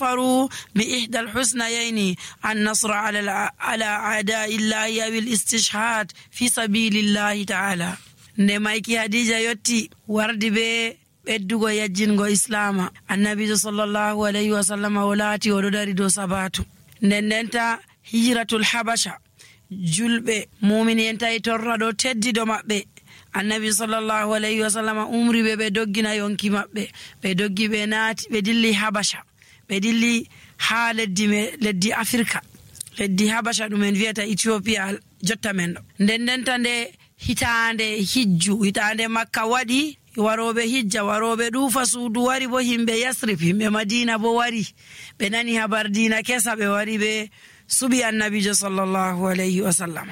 فروا بإحدى الحسنيين النصر على أعداء الله أو الاستشهاد في سبيل الله تعالى. نمايكي خديجة يوتي وردي بي beddugo yajjingo islama annabijo sallallahu alayhi wa sallam wolati o do dari do sabatu ndendenta hijratul habasha julbe mu'minin tay torra do teddi do mabbe annabi sallallahu alayhi wa sallam umri be doggina yonki mabbe be doggi be naati be dilli habasha be dilli ha leddi afrika leddi habasha dum en vieta ethiopia jotta men do ndendenta nde hitande makka wadi warobe hijja warobe dufa suudu wari bo himbe yasrib himbe madina bo wari be nani habar dina kesa be wari be subi annabijo sallallahu alayhi wa sallam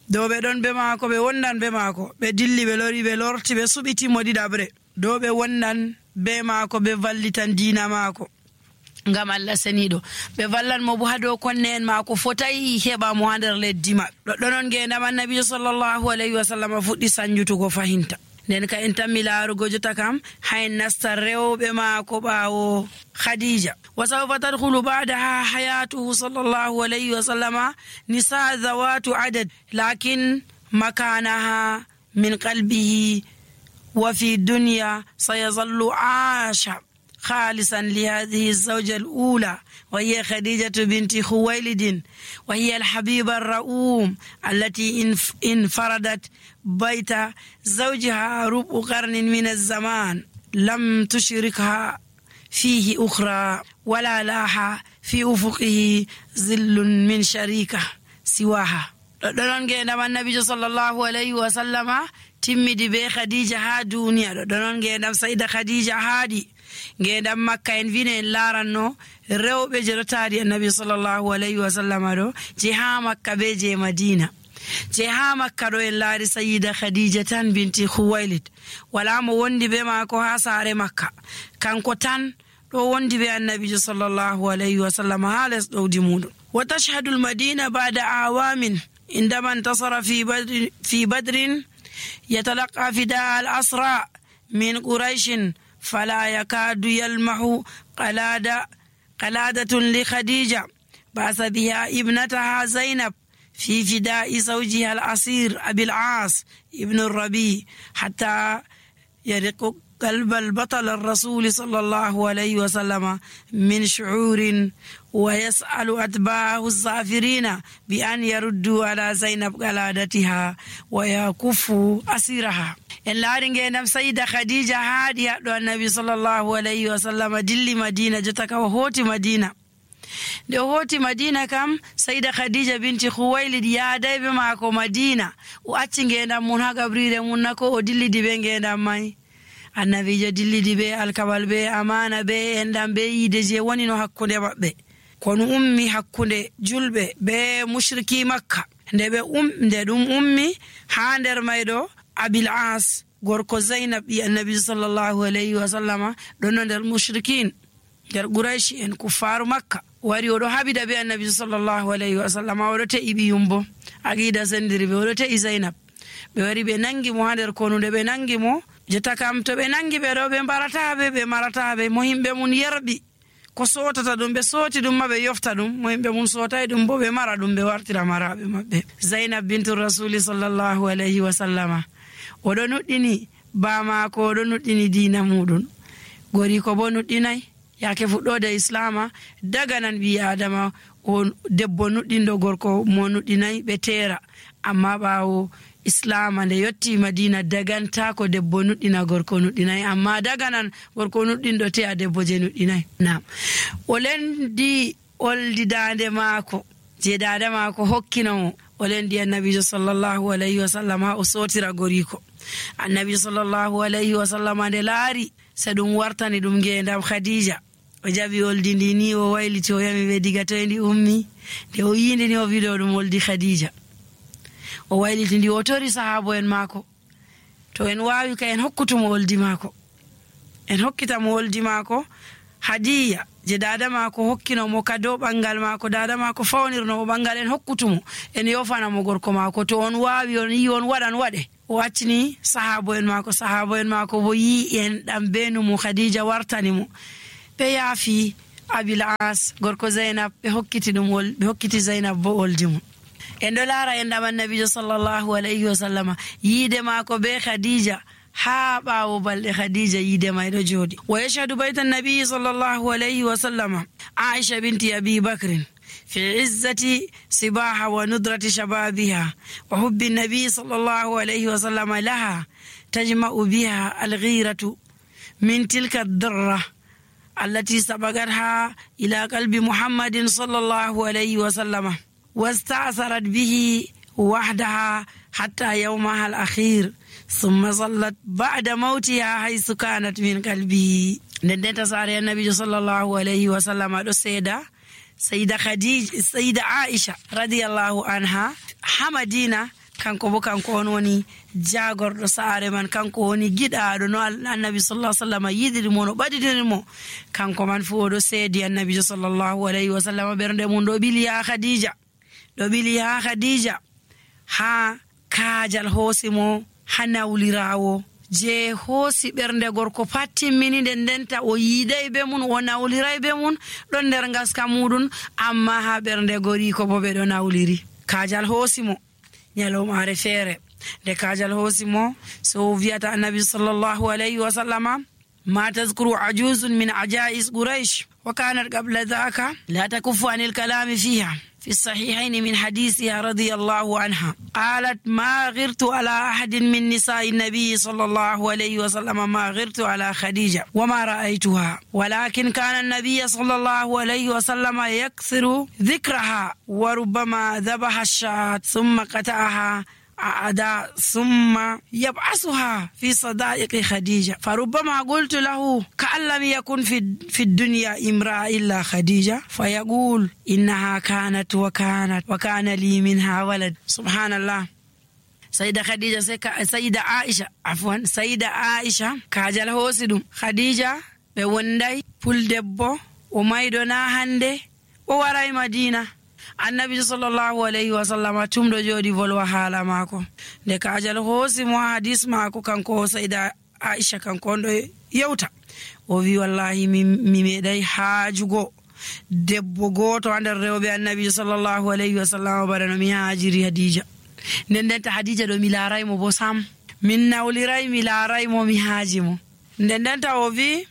do be don be maako be wondan be maako be dilli be lori be lorti be subiti modi dabre do be wondan be maako be vallitan dina maako ngam Allah senido be vallan mo bu hado konne en maako fotai heba mo hander leddi ma donon ngendam annabijo sallallahu alayhi wa sallam fuddi sanjutugo fahinta nen ka en tamilarugo jota kam hay nasta rewbe maako bawo khadija wa sawfa tadkhulu ba'daha hayatuhu sallallahu alayhi wa sallama nisa zawatu adad lakin makanaha min qalbihi wa fi dunya sayazallu aasha خالصا لهذه الزوجة الأولى وهي خديجة بنت خويلد وهي الحبيبة الرؤوم التي انفردت بيت زوجها ربع قرن من الزمان لم تشركها فيه أخرى ولا لاح في أفقه ظل من شريكة سواها. النبي صلى الله عليه وسلم timmidi be khadija ha duniya do non ngendam sayda khadija haadi ngendam makka en vine laranno rewbe jerotari annabi sallallahu alayhi wa sallam do je ha makka be je madina je ha makka do en laari sayyida khadija tan binti khuwailid wala mo wondi be mako ha sare makka kanko tan do wondi be annabi sallallahu alayhi wa sallam halas do dimudum wa tashhadu al madina ba'da awamin indama intasara fi badrin يتلقى فداء الأسرى من قريش فلا يكاد يلمح قلادة لخديجة بعث بها ابنتها زينب في فداء زوجها الأسير أبي العاص ابن الربيع حتى يرق قلب البطل الرسول صلى الله عليه وسلم من شعور ويسأل أتباعه الزافرين بأن يردوا على زينب قلادتها ويكفوا أسيرها. إلا رنجنا سيدة خديجة هادي النبي صلى الله عليه وسلم دل مدينة جتك وهوت مدينة de hoti madina kam sayda khadija binti khuwailid ya daybe mako madina o acci ngendam mun ha gabrire mun nako o dilli dibe ngendam mai annabijo dillidi be alkabal be amana be endam be yide je woni no hakkunde mabbe kono ummi hakkunde julbe be mushriki makka nde dum ummi ha nder maydo abil as gorko zainab bi annabi sallallahu alayhi wa sallama don nder mushrikin der quraish en kufaru makka wari odo habida be annabi sallallahu alayhi wa sallama odo te ibi yumbo agida sendiri be odo te zainab be wari be nangi mo ha nder konunde be nangi mo jeta kam to be nangi be do be maratabe mo himbe mun yerbi ko sotata dum be soti dum mabe yofta dum mo himbe mun sotay dum bo be mara dum be wartira marabe mabbe zainab bintu rasul sallallahu alayhi wa sallama odo nuddini ba ma ko odo nuddini dina mudun gori ko bo nuddinai yake fuddode islama daga nan bi adama o debbo nuddindo gorko mo nuddinai be tera amma bawo islam ande yotti madina daganta ko debbo nuddina gorko nuddinai amma daga nan gorko nuddindo te a debbo je nuddinai nam olendi oldi dande maako je dada maako hokkino olendi annabi sallallahu alayhi wa sallam o sotira goriko annabi sallallahu alayhi wa sallam ande laari sadum wartani dum ngendam khadija o jabi oldi ni o wayliti o yami be diga to endi ummi de o yinde ni o video dum oldi khadija o wayliti ndi o tori sahabo en mako to en waawi ka en hokkutumo oldi mako en hokkitamo oldi mako hadiya je dada mako hokkino mo kado bangal mako dada mako fawnirno mo bangal en hokkutumo en yofana mo gorko mako to on waawi on yi on wadan wade o accini sahabo en mako bo yi en dam benu mo khadija wartani mo be yaafi Abil As gorko Zainab ɓe hokkiti Zainab bo oldi mum. En ɗo laara endam annabijo sallallahu alayhi wa sallama yiide maako be Khadija haa ɓaawo balɗe Khadija yiide may ɗo jooɗi. Wa yashhadu bayta annabi sallallahu alayhi wa sallama Aisha binti Abi Bakrin في عزة صباها وندرة شبابها وحب النبي صلى الله عليه وسلم لها تجمع بها الغيرة من تلك الذرة التي سبقتها إلى قلب محمد صلى الله عليه وسلم واستأثرت به وحدها حتى يومها الأخير ثم ظلت بعد موتها حيث كانت من قلبه. ندنت ساري النبي صلى الله عليه وسلم السيدة Sayida Khadija, Sayida Aisha radiyallahu anha ha Madina kanko bo kanko on woni jagorɗo saare man, kanko woni giɗaɗo no annabi sallallahu alaihi wasallam yidiri mo no ɓadidiri mo, kanko man fu oɗo seedi annabijo sallallahu alaihi wasallam ɓernde mum ɗo ɓili ha Khadija ha kaajal hoosi mo ha nawlirawo je hoosi ɓernde gorko pat timmini ndenta o yiiday be mun o nawliray be mun ɗon nder ngaska muɗum, amma ha ɓernde goriko bo ɓe ɗo nawliri. Kaajal hoosi mo nyalomare feere, nde kaajal hoosi mo so wiyata annabi sallallahu alayhi wa sallama ma tazkuru ajuzun min ajais quraish wa kanat qabla dhaka la takuffu anil kalami fiha في الصحيحين من حديثها رضي الله عنها قالت ما غرت على أحد من نساء النبي صلى الله عليه وسلم ما غرت على خديجة وما رأيتها، ولكن كان النبي صلى الله عليه وسلم يكثر ذكرها وربما ذبح الشاة ثم قطعها أعداء ثم يبعثها في صدائق خديجة، فربما قلت له كأن لم يكن في الدنيا امرأة إلا خديجة فيقول إنها كانت وكان لي منها ولد. سبحان الله. سيدة خديجة سيدة عائشة كاجل هوسدم خديجة بوندي بول دبو ومايدونا هندي ووراي مدينة. annabi sallallahu alayhi wa sallama tumdo jodi volwa haala maako nde kaajal hoosi mo hadis maako kanko Sayda Aisha kanko ndo yewta o wi wallahi mi meeday haajugo debbo goto andar rewbe annabi sallallahu alayhi wa sallama barano mi haajiri Khadija ndenta Khadija do mi laaray mo bo sam min nawliray mi laaray mo mi haaji mo ndenta o wi